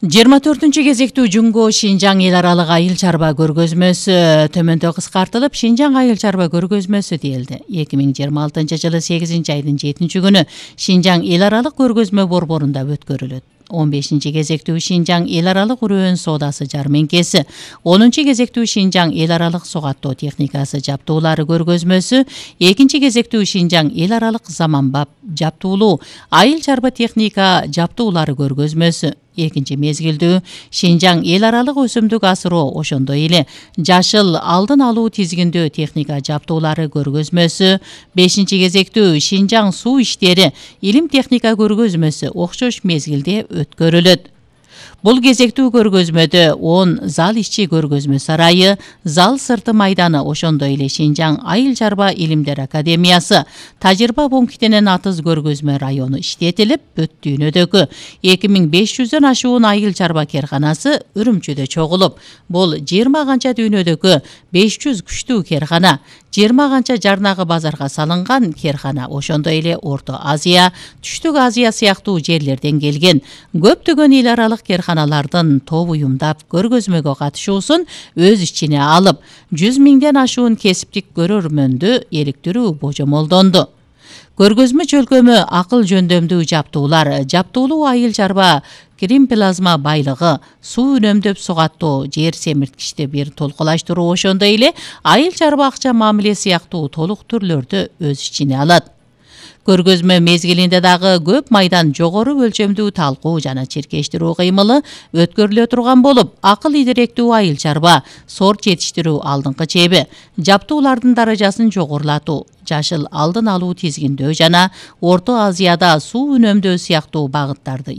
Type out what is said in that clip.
24 кезектүү Жумго Шинжаң эл аралык айыл чарба көргөзмөсү төмөндө кыскартылып Шинжаң айыл чарба көргөзмөсү делди. 2026 жылы 8 айдын 7 күнү Шинжаң эл аралык көргөзмө борборунда өткөрүлөт. 15 кезектүү Шинжаң эл аралык үрөөн соодасы жарменкеси, 10 кезектүү Шинжаң эл аралык согаттоо техникасы жаптуулары көргөзмөсү, 2 кезектүү Шинжаң эл аралык заманбап жаптуулуу айыл чарба техника жаптуулары көргөзмөсү, 2 мезгилдүү Шинжаң эл аралык өсүмдүк асыроо ошондой эле жашыл алдын алуу тизгиндөө техника жаптуулары көргөзмөсү, 5 кезектүү Шинжаң суу иштери илим техника көргөзмөсү окшош мезгилде өткөрүлөт. Бул кезектүү көргөзмөдө 10 зал ишчи көргөзмө сарайы, зал сырты майданы, ошондой эле Шинжаң айыл чарба илимдер академиясы, тажрыйба пунктинен атыз көргөзмө району иштетилип, Бүт дүйнөдөгү 2500дөн ашуун айыл чарба керканасы Үрүмчүдө чогулуп, бул 20 канча дүйнөдөгү 500 күчтүү керкана, 20 канча жарнагы базарга салынган керкана, ошондой эле Орто Азия, Түштүк Азия сыяктуу жерлерден келген көптөгөн эл аралык керканалардын топ уюмдап көргөзмөгө катышуусун өз ичине алып, 100 миңден ашуун кесиптик көрөрмөндү иликтирүү божомолдонду. Көргөзмө чөлкөмү акыл жөндөмдүү жаптуулар, жаптуулуу айыл чарба крем плазма байлыгы, суу үнөмдөп сугаттоо, жер семирткичти бир толкулаштыруу, ошондой эле айыл чарба акча мамиле сыяктуу толук түрлөрдү өз ичине алат. Көргөзмө мезгилинде дагы көп майдан жогору өлчөмдүү талкуу жана чиркештирүү кыймылы өткөрүлө турган болуп, акыл идиректүү айыл чарба, сорт жетиштирүү алдыңкы чеби, жаптуулардын даражасын жогорулатуу, жашыл алдын алуу тизгиндөө жана Орто Азияда суу үнөмдөө сыяктуу багыттарды